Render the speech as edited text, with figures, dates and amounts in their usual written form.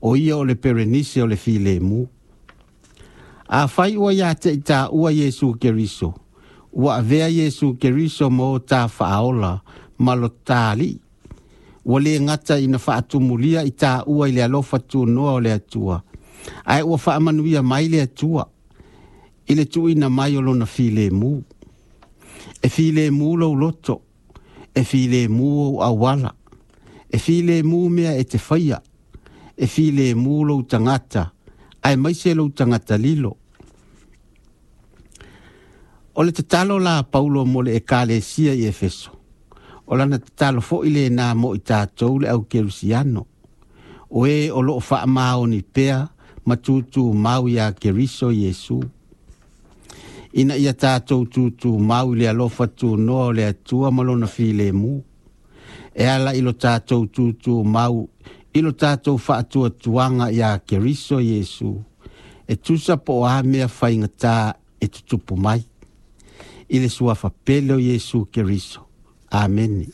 O ia o le Perenise o le filemu. Afai ua ia te i taua Iesu Keriso, ua avea Iesu Keriso ma o ta Faaola ma lo ta Alii, ua le gata ina faatumulia i taua i le alofa tunoa o le Atua, ae ua faamanuia mai le Atua i le tuuina mai o lona filemu. E filemu lou loto, e filemu ou auala, e filemu mea e te faia, e filemu lou tagata, aemaise lou tagata lilo. O le tatalo la a Paulo mo le Ekalesia i Efeso, o lana tatalo foi lenā mo i tatou le au kerisiano, o e o loo faamaoni pea ma tutumau iā Keriso Iesu. Ina ia tatou tutumau i le alofa tunoa o le Atua ma lona filemu, e ala i lo tatou tutumau i lo tatou faatuatuaga iā Keriso Iesu, e tusa po o a mea faigata e tutupu mai. I le suafa pele o Iesu Keriso. Amene.